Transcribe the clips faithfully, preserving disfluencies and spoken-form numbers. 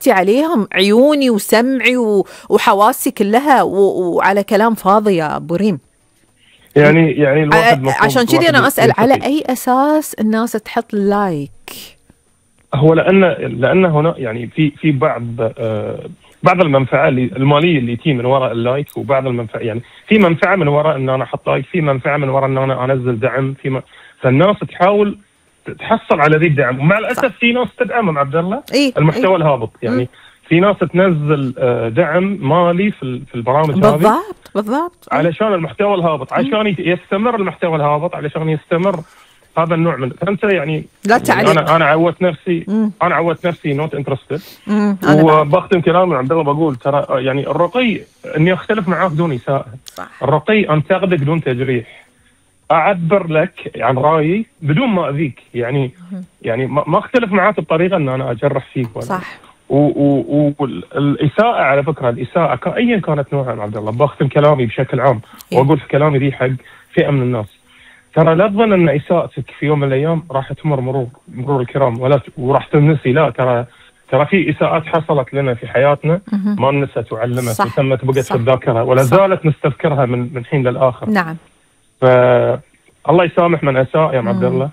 تفتي عليهم عيوني وسمعي وحواسي كلها وعلى كلام فاضي يا أبو ريم. يعني يعني الواحد عشان كذي أنا أسأل على أي أساس الناس تحط لايك؟ هو لأن لأن هنا يعني في في بعض آه بعض المنفعة المالية اللي تي من وراء اللايك، وبعض المنفعة يعني في منفعة من وراء إن أنا أحط لايك، في منفعة من وراء إن أنا أنزل دعم، في م... فالناس تحاول تحصل على ذي الدعم، ومع الأسف في ناس تدعم عبد الله إيه؟ المحتوى إيه؟ الهابط يعني م. في ناس تنزل دعم مالي في في البرامج هذه بالضبط بالضبط علشان المحتوى الهابط، عشان يستمر المحتوى الهابط، علشان يستمر هذا النوع من فانت يعني لا تعليق. يعني انا انا عودت نفسي مم. انا عودت نفسي نوت انترستد. وبختم كلامي عبد الله بقول ترى يعني الرقي اني اختلف معاك دون اساءه، الرقي انتقدك دون تجريح، اعبر لك عن رايي بدون ما اذيك، يعني مم. يعني ما اختلف معاك بطريقه ان انا اجرح فيك ولا صح. والاساءه على فكره الاساءه ايا كانت نوعها عبد الله، بختم كلامي بشكل عام واقول في كلامي ذي حق فئه من الناس، ترى لا تظن ان اساءتك في يوم من الايام راح تمر مرور مرور الكرام ولا وراح تنسي، لا ترى ترى في اساءات حصلت لنا في حياتنا ما نسيت وعلمت وتمت بقت في الذاكره ولا زالت نستذكرها من من حين للاخر. نعم. فالله يسامح من اساء يا عبد الله،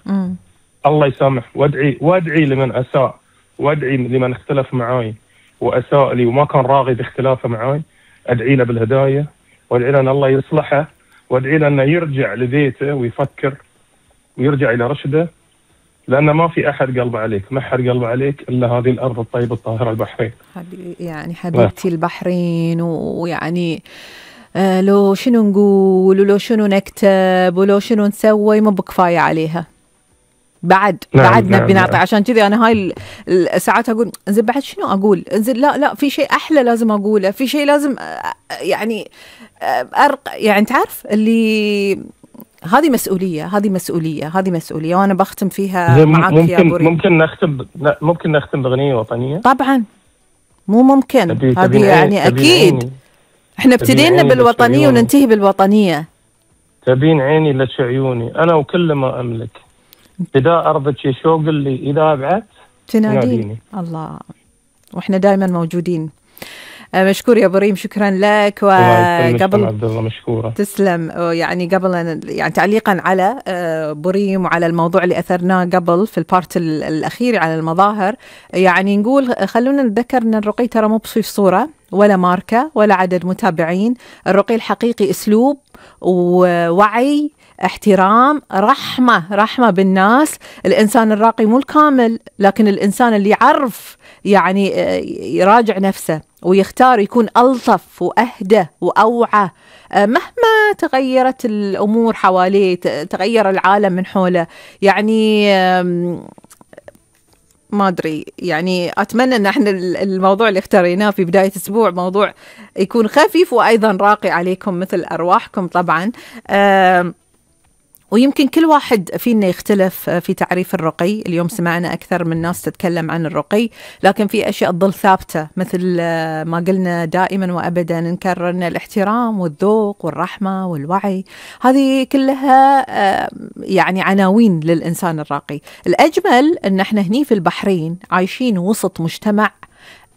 الله يسامح، وادعي وادعي لمن اساء، وادعي لمن اختلف معاي واساء لي وما كان راغب باختلافه معاي، ادعي له بالهدايه وادعي له ان الله يصلحه، وادعي له انه يرجع لبيته ويفكر ويرجع الى رشده، لان ما في احد قلبه عليك، ما حد قلبه عليك الا هذه الارض الطيبه الطاهره البحرين. يعني حبيبتي البحرين، ويعني آه لو شنو نقول ولو شنو نكتب ولو شنو نسوي مو بكفايه عليها. بعد نعم بعد نعم نبي نعطي. نعم. عشان كذي انا هاي الساعات اقول انزين بعد شنو اقول، انزين لا لا في شيء احلى لازم اقوله، في شيء لازم يعني ارق يعني تعرف اللي هذه مسؤوليه هذه مسؤوليه هذه مسؤوليه وانا بختم فيها معك يا ابو ريم. ممكن نختم لا ممكن نختم باغنيه وطنيه؟ طبعا مو ممكن، هذه يعني اكيد احنا ابتدينا بالوطنيه وننتهي بالوطنيه. تبين عيني لك عيوني انا وكل ما املك، إذا أرضك شوق اللي إذا أبعد تناديني. الله، وإحنا دائما موجودين. مشكور يا أبو ريم، شكرا لك. وقبل عبد الله مشكورة تسلم. يعني قبل يعني تعليقا على أبو ريم وعلى الموضوع اللي أثرناه قبل في البارت الأخير على المظاهر، يعني نقول خلونا نتذكر أن الرقي ترى مو بصيف صورة ولا ماركة ولا عدد متابعين، الرقي الحقيقي أسلوب ووعي، احترام، رحمة رحمة بالناس. الإنسان الراقي مو الكامل، لكن الإنسان اللي يعرف يعني يراجع نفسه ويختار يكون ألطف وأهدى وأوعى مهما تغيرت الأمور حواليه، تغير العالم من حوله. يعني ما أدري، يعني أتمنى أن احنا الموضوع اللي اختاريناه في بداية أسبوع موضوع يكون خفيف وأيضا راقي عليكم مثل أرواحكم طبعا. ويمكن كل واحد فينا يختلف في تعريف الرقي. اليوم سمعنا أكثر من ناس تتكلم عن الرقي، لكن في أشياء تظل ثابتة مثل ما قلنا دائما وأبدا نكرر أن الاحترام والذوق والرحمة والوعي هذه كلها يعني عناوين للإنسان الراقي. الأجمل أن احنا هني في البحرين عايشين وسط مجتمع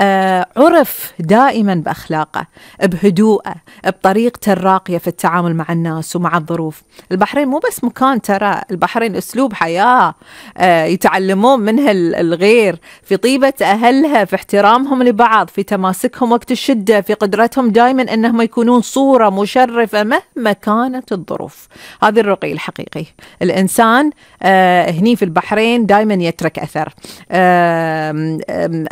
آه عرف دائما بأخلاقه، بهدوءه، بطريقته الراقية في التعامل مع الناس ومع الظروف. البحرين مو بس مكان، ترى البحرين أسلوب حياة آه يتعلمون منها الغير، في طيبة أهلها، في احترامهم لبعض، في تماسكهم وقت الشدة، في قدرتهم دائما أنهم يكونون صورة مشرفة مهما كانت الظروف. هذا الرقي الحقيقي. الإنسان آه هني في البحرين دائما يترك أثر آه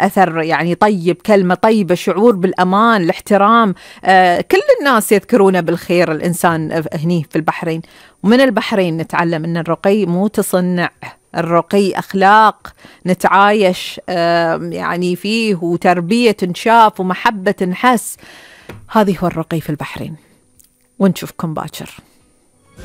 أثر يعني طيب، كلمة طيبة، شعور بالأمان، الاحترام. آه كل الناس يذكرونه بالخير الإنسان هني في البحرين. ومن البحرين نتعلم أن الرقي مو تصنع، الرقي أخلاق نتعايش آه يعني فيه، وتربية تنشاف ومحبة نحس. هذه هو الرقي في البحرين. ونشوفكم باكر.